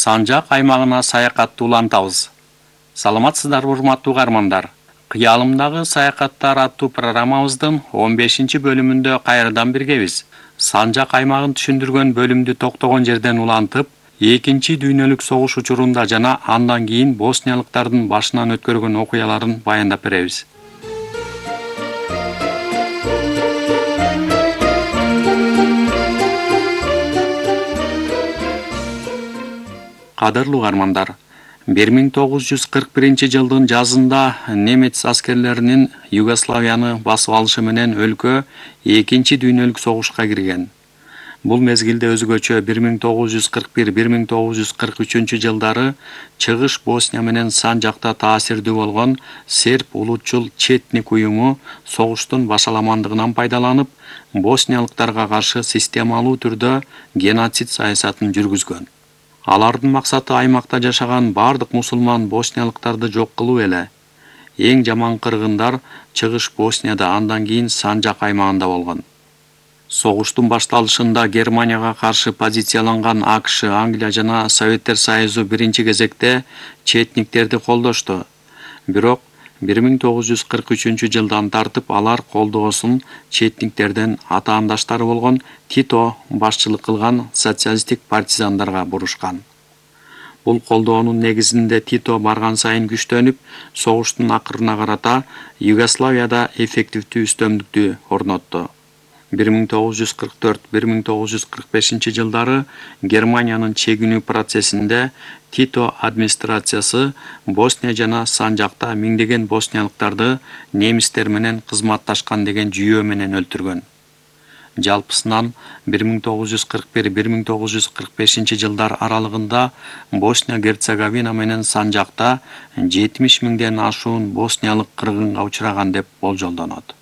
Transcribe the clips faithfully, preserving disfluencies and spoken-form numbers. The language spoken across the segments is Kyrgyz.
Санжак аймагына саякатты улантабыз. Саламатсыздарбы урматтуу угармандар? Кыялымдагы саякаттар аттуу программабыздын он бешинчи бөлүмүндө кайрадан биргебиз. Санжак аймагын түшүндүргөн бөлүмдү токтогон жерден улантып, экинчи дүйнөлүк согуш учурунда жана андан кийин босниялыктардын башынан өткөргөн окуяларын баяндап беребиз. Кадырлуу угармандар, бир миң тогуз жүз кырк биринчи жылдын жазында немец аскерлеринин Югославияны басып алышы менен өлкө экинчи дүйнөлүк согушка кирген. Бул мезгилде өзгөчө бир миң тогуз жүз кырк бир — бир миң тогуз жүз кырк үчүнчү жылдары Чыгыш Босния менен Санжакта таасирдүү болгон серб улутчул Четник уюму согуштун башаламандыгынан пайдаланып, босниялыктарга каршы системалуу түрдө геноцид саясатын жүргүзгөн. Алардын максаты аймакта жашаган бардык мусулман босниялыктарды жок кылуу эле. Эң жаман кыргындар Чыгыш Боснияда, андан кийин Санжак аймагында болгон. Согуштун башталышында Германияга каршы позицияланган АКШ, Англия жана Советтер Союзу биринчи кезекте четниктерди колдошту. Бирок бир миң тогуз жүз кырк үчүнчү жылдан тартып алар колдоосун четниктерден атаандаштары болгон Тито башчылык кылган социалисттик партизандарга бурушкан. Бул колдоонун негизинде Тито барган сайын күчтөнүп, согуштун акырына карата Югославияда эффективдүү үстөмдүктү орнотту. бир миң тогуз жүз кырк төрт — бир миң тогуз жүз кырк бешинчи жылдары Германиянын чегинүү процессинде Тито администрациясы Босния жана Санжакта миңдеген босниялыктарды немистер менен кызматташкан деген жүйөө менен өлтүргөн. Жалпысынан бир миң тогуз жүз кырк бир — бир миң тогуз жүз кырк бешинчи жылдар аралыгында Босния-Герцеговина менен Санжакта жетимиш миңден ашуун босниялык кыргынга учураган деп болжолдонот.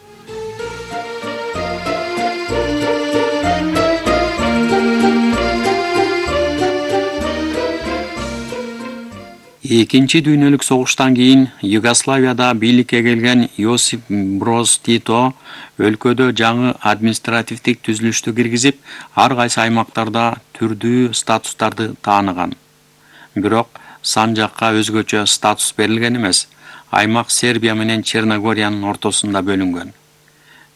Экинчи дүйнөлүк согуштан кийин Югославияда бийликке келген Йосип Броз Тито өлкөдө жаңы административдик түзүлүштү киргизип, ар кайсы аймактарда түрдүү статустарды тааныган. Бирок Санжакка өзгөчө статус берилген эмес. Аймак Сербия менен Черногориянын ортосунда бөлүнгөн.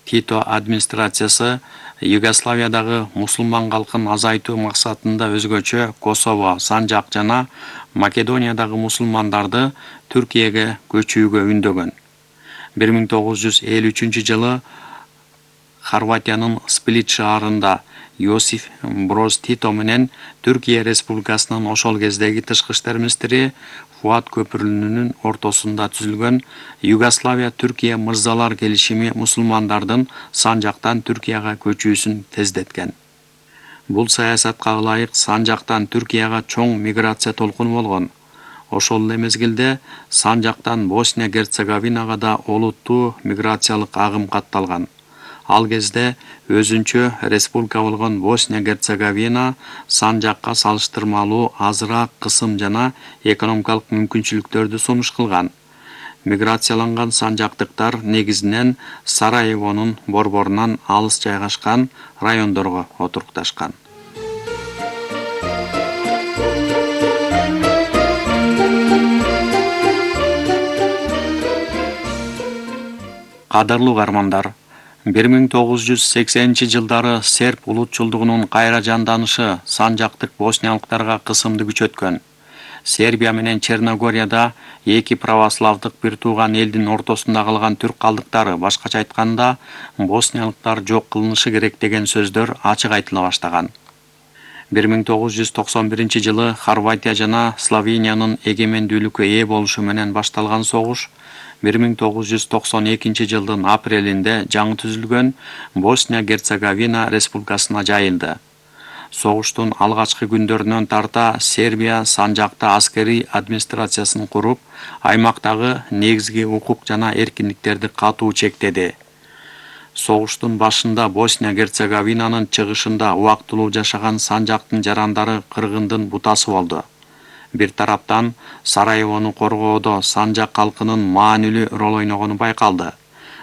Тито администрациясы Югославиядагы мусулман калкын азайтуу максатында өзгөчө Косово, Санжак жана Македониядагы мусулмандарды Түркияга көчүүгө үндөгөн. бир миң тогуз жүз элүү үчүнчү жылы Хорватиянын Сплит шаарында Йосиф Броз Тито менен Түркия Республикасынын ошол кездеги тышкы иштер министри Фуат Көпүрүлүнүн ортосунда түзүлгөн Югославия-Түркия мырзалар келишими мусулмандардын Санжактан Түркияга көчүүсүн тездеткен. Бул саясатка ылайык Санжактан Түркияга чоң миграция толкуну болгон. Ошол эле мезгилде Санжактан Босния-Герцеговинага да олуттуу миграциялык агым катталган. Ал кезде өзүнчө республика болгон Босния-Герцеговина Санжакка салыштырмалуу азыраак кысым жана экономикалык мүмкүнчүлүктөрдү сунуш кылган. Миграцияланган санжактыктар негизинен Сараевонун борборунан алыс жайгашкан райондорго отурукташкан. Кадырлуу угармандар, бир миң тогуз жүз сексенинчи жылдары серб улутчулдугунун кайра жанданышы санжактык босниялыктарга кысымды күчөткөн. Сербия менен Черногорияда эки православдык бир тууган элдин ортосунда калган түрк калдыктары, башкача айтканда, босниялыктар жок кылынышы керек деген сөздөр ачык айтыла баштаган. бир миң тогуз жүз токсон биринчи жылы Хорватия жана Словениянын эгемендүүлүккө ээ болушу менен башталган согуш бир миң тогуз жүз токсон экинчи жылдын апрелинде жаңы түзүлгөн Босния-Герцеговина республикасына жайылды. Согуштун алгачкы күндөрүнөн тарта Сербия Санжакта аскерий администрациясын куруп, аймактагы негизги укук жана эркиндиктерди катуу чектеди. Согуштун башында Босния-Герцеговинанын чыгышында убактылуу жашаган Санжактын жарандары кыргындын бутасы болду. Бир тараптан Сараевону коргоодо Санжак калкынын маанилүү рол ойногону байкалды.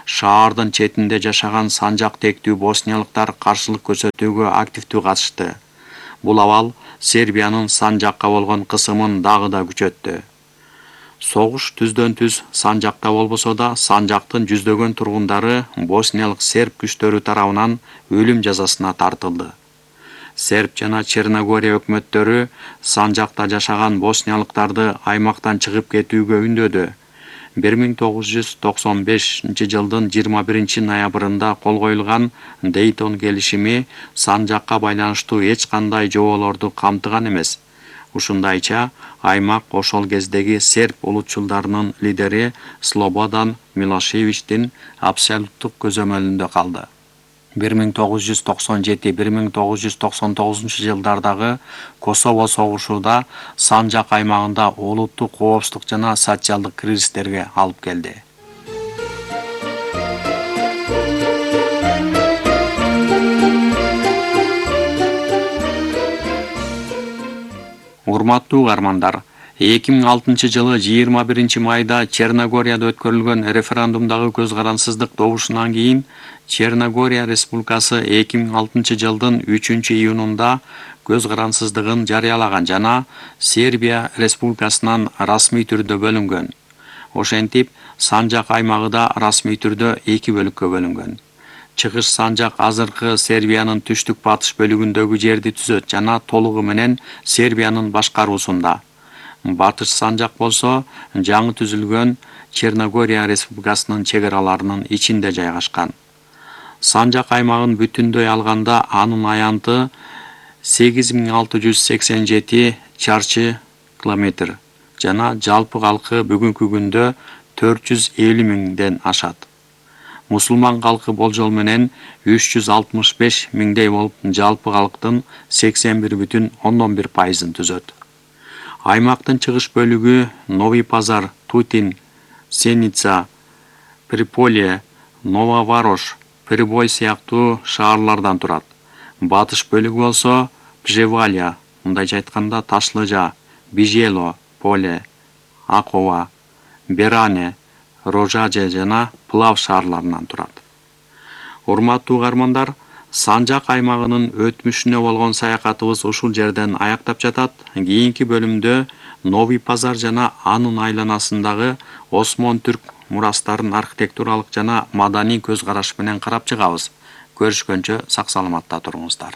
Шаардын четинде жашаган Санжак тектүү босниялыктар каршылык көрсөтүүгө активдүү катышты. Бул абал Сербиянын Санжакка болгон кысымын дагы да күчөттү. Согуш түздөн түз Санжакта болбосо да, Санжактын жүздөгөн тургундары босниялык серб күчтөрү тарабынан өлүм жазасына тартылды. Серб жана Черногория өкмөттөрү Санжакта жашаган босниялыктарды аймактан чыгып кетүүгө үндөдү. бир миң тогуз жүз токсон бешинчи жылдын жыйырма биринчи ноябрында кол коюлган Дейтон келишими Санжакка байланыштуу эч кандай жоболорду камтыган эмес. Ушундайча аймак ошол кездеги серб улутчулдарынын лидери Слободан Милошевичтин абсолюттук көзөмөлүндө калды. бир миң тогуз жүз токсон жети — бир миң тогуз жүз токсон тогузунчу жылдардагы Косово согушууда Санжак аймагында улуттук коопсуздук жана социалдык кризистерге алып келди. Урматтуу угармандар, эки миң алтынчы жылы жыйырма биринчи майда Черногорияда өткөрүлгөн референдумдагы көз карансыздык добушунан кийин Черногория Республикасы эки миң алтынчы жылдын үчүнчү июнунда көз карансыздыгын жарыялаган жана Сербия Республикасынан расмий түрдө бөлүнгөн. Ошентип, Санжак аймагы да расмий түрдө эки бөлүккө бөлүнгөн. Чыгыш Санжак азыркы Сербиянын түштүк батыш бөлүгүндөгү жерди түзөт жана толугу менен Сербиянын башкаруусунда. Батыш Санжак болсо жаңы түзүлгөн Черногория Республикасынын чек араларынын ичинде жайгашкан. Санжак аймагын бүтүндөй алганда анын аянты сегиз миң алты жүз сексен жети чарчы километр жана жалпы калкы бүгүнкү күндө төрт жүз элүү миңден ашат. Мусулман калкы болжол менен үч жүз алтымыш беш миңдей болуп, жалпы калктын сексен бир бүтүн ондон бир пайызын түзөт. Аймактын чыгыш бөлүгү Новый Пазар, Тутин, Сеница, Приполе, Нововарош, Прибой сыяктуу шаарлардан турат. Батыш бөлүгү болсо Пжевалия, мындайча айтканда Ташлыжа, Бижело, Поле, Акова, Беране, Рожаже жана Плав шаарларынан турат. Урматтуу угармандар, Санжак аймагынын өтмүшүнө болгон саякатыбыз ушул жерден аяктап жатат. Кийинки бөлүмдө Новый Пазар жана анын айланасындагы Осмон түрк мурастарын архитектуралык жана маданий көз караш менен карап чыгабыз. Көрүшкөнчө сак саламатта туруңуздар.